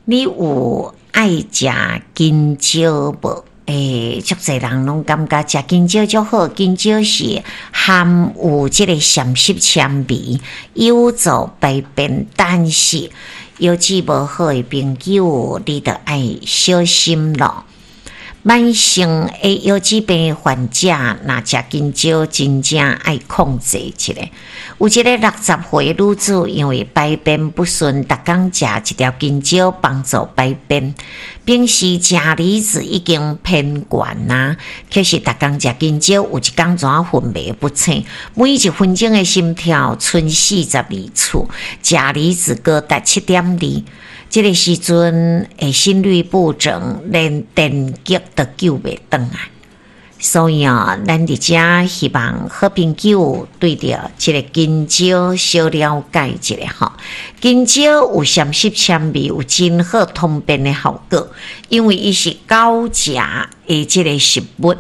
你有愛食香蕉無？足濟人攏感覺食香蕉足好，香蕉是含有這個膳食纖維，有助排便。但是腰子無好的朋友，你著愛小心咯。慢性的腰子病患者，若食香蕉，真正愛控制一下。有一个60歲女子，因為排便不順，逐工食一條香蕉幫助排便。平時鉀離子已經偏懸啊，可是逐工食香蕉，有一工怎睏袂不醒，每一分鐘的心跳賰42次，鉀離子高達7.2。這个時陣的心律不整，連電擊都救袂轉來。所以啊，咱佇遮希望好朋友對著這个香蕉小了解一下吼。香蕉有膳食纖維，有真好通便的效果，因為伊是高鉀的這个食物。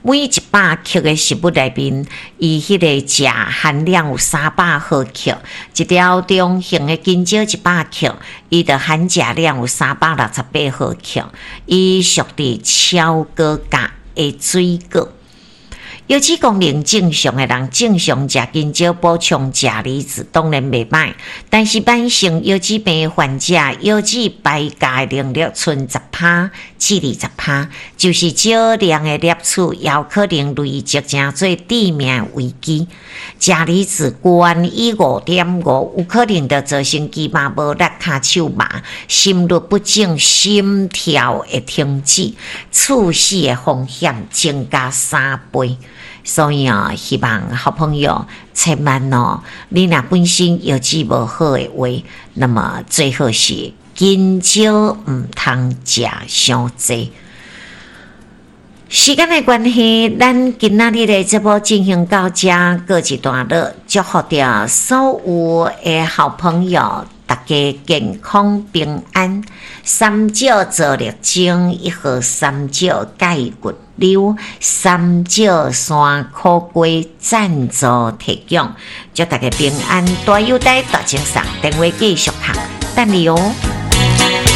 每100克的食物內面，伊彼個鉀含量有300毫克。一條中型的香蕉100克，伊的含鉀量有368毫克。伊屬佇超高鉀的水果。腰子功能正常的人，正常食香蕉補充鉀離子當然袂䆀，但是慢性腰子病患者，腰子排鉀的能力賰10趴至20趴，就是少量的攝取，也有可能累積成做致命危機。鉀離子懸於5.5，有可能就造成肌肉無力、跤手麻、心律不整、心跳會停止、猝死的風險增加3倍。所以啊，希望好朋友千萬哦，你若本身腰子無好的話，那麼最好是香蕉毋通食傷濟。時間的關係，咱今仔日的節目進行到這，告一段落。祝福著所有的好朋友，大家健康平安。三少做力爭，一號三少蓋骨溜，三少山苦瓜贊助提供，祝大家平安。大有代大精神，電話繼續敲，等你哦。